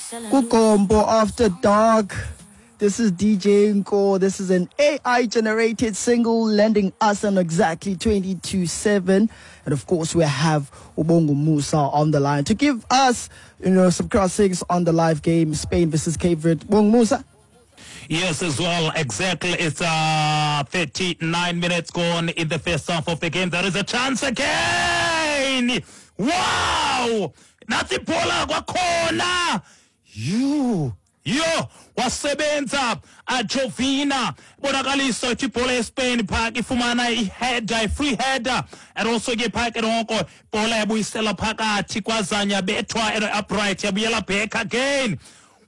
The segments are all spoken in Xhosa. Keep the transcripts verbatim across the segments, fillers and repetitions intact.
KuGompo After Dark. This is D J Nko. This is an A I generated single landing us on exactly twenty to seven. And of course, we have uBongumusa on the line to give us, you know, some crossings on the live game, Spain versus Cape Verde. Bongumusa. Yes, as well. Exactly. It's uh, thirty-nine minutes gone in the first half of the game. There is a chance again. Wow! Nantsi ibhola kwakhona. You. Yo, wasebenza Jovina, bonakalisa ukuthi ibhola yeSpain phaa ifumana i-header, i-free header, and also ke phaa ke noko ibhola yabuyisela phakathi, kwazanya bethwa upright, yabuyela back again,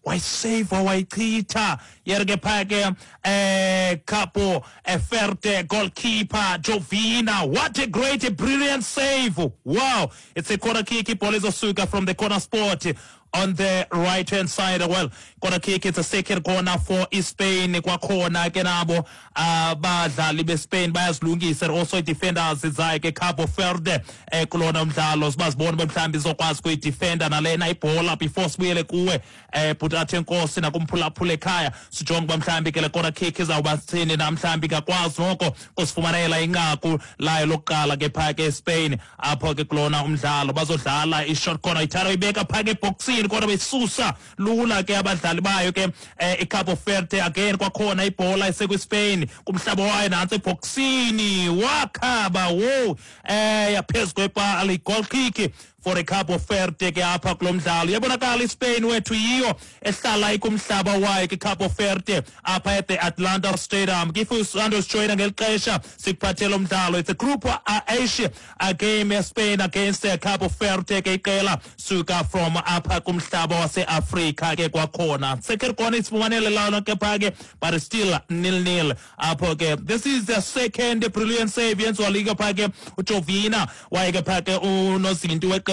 wayiseva, wayichitha yere ke phaa ke eh Capo Verde goalkeeper Jovina. What a great, a brilliant save! Wow! It's a corner kick. Ibhola izosuka from the corner spot on the right hand side. Well, corner kick, it's a second corner for Spain kwakhona ke. Nabo abadlali beSpain bayazilungisa, also defenders zayo ke Cabo Verde eh kulona umdlalo, sibazibona mhlawumbi izokwazi kuyidefenda nalena ibhola. Before sibuyele kuwe, eh bhuti Nkosi, nakumphulaphula ekhaya, sijonge uba mhlawumbi ke le corner kick izawuba sithini na, mhlawumbi ingakwazi noko kusifumanela inqaku layo lokuqala ke phaa ke Spain apho ke kulona umdlalo. Bazodlala i-short corner, ithatha ibeka phaa ke ebhoksini, kodwa besusa lula ke abadlali bayo ke eh, iCabo Verde. Again kwakhona ibhola isekwiSpain kumhlaba wayo, nantsi ebhoksini, wakhaba wo, eh yaphezu kwepali. Goal kick for iCabo Verde ke apha kulo mdlalo. Iyabonakala iSpain wethu yiyo ehlala ikumhlaba wayo ke Cabo Verde apha at the Atlanta Stadium. If usandosijoyina ngeli xesha sikuphathela umdlalo, it's a Group H, a game, Spain against Cabo Verde ke, iqela suka from apha kumhlaba waseAfrika ke kwakhona. Second corner isifumanele lona ke phaa ke, but still nil nil apho ke. This is the second brilliant save yenziwa liga phaa ke uJovina, waye ke phaa ke unozinti weqela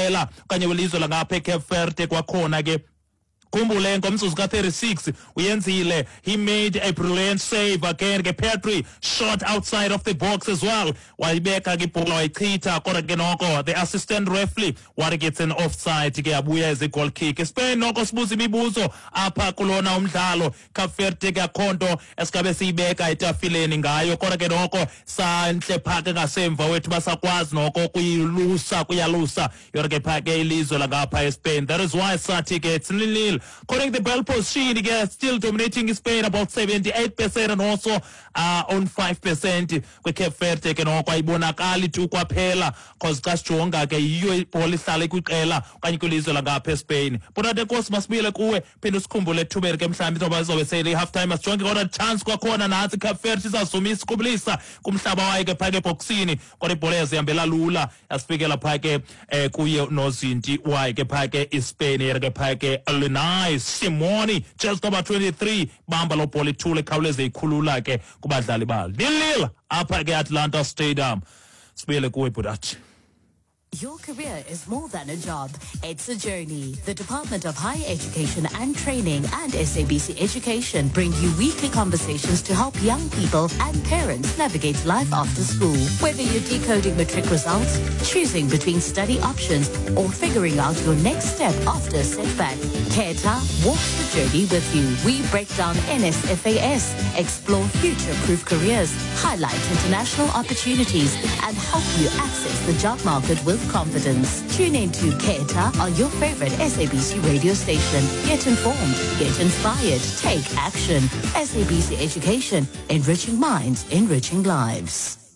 okanye welizwe langapha eCape Verde kwakhona ke. Khumbule ngomzuzu ka-thirty-six uyenzile, he made a brilliant save again ke. Pedri shot outside of the box as well, wayibeka ke ibhola, wayichitha, kodwa ke noko the assistant referee wathi it's an offside ke, yabuya as a goal kick. Spain noko sibuza imibuzo apha kulona umdlalo. Cape Verde ke akho nto esikabe siyibeka etafileni ngayo, kodwa ke noko santle phaa ke ngasemva wethu, basakwazi noko kuyilusa, kuyalusa yona ke phaa ke ilizwe langapha eSpain. That is why sathi ke it's nil nil. According to the ball possession, ke still dominating Spain about seventy-eight percent and also uh, on five percent kwiCape Verde ke. Noko ayibonakali tu kwaphela, cause xa sijonga ke yiyo ibhola ihlala kwiqela okanye kwilizwe langapha eSpain. Bonate Nkosi, masibuyele kuwe, phinde usikhumbule ethubeni ke mhlawumbi izoba izobe sele i-half time. Asijonge kodwa chance kwakhona, nantsi iCape Verde izazumisa ikubulisa kumhlaba wayo ke phaa ke ebhoksini, kodwa ibhola yazihambela lula, yasifikela phaa ke eh, kuye nozinti wayo ke phaa ke iSpain yena ke phaa ke Linai Simoni, just number twenty-three, bamba lo bhola ithule, ikhawuleze ikhulula ke kubadlali balo. Nil nil apha ke Atlanta Stadium. Sibuyele kuwe, bhuti. Your career is more than a job. It's a journey. The Department of Higher Education and Training and S A B C Education bring you weekly conversations to help young people and parents navigate life after school. Whether you're decoding matric results, choosing between study options, or figuring out your next step after a setback, Khetha walks the journey with you. We break down N S F A S, explore future-proof careers, highlight international opportunities, and help you access the job market with confidence. Tune in to Khetha on your favorite S A B C radio station. Get informed, get inspired, take action. S A B C Education, enriching minds, enriching lives.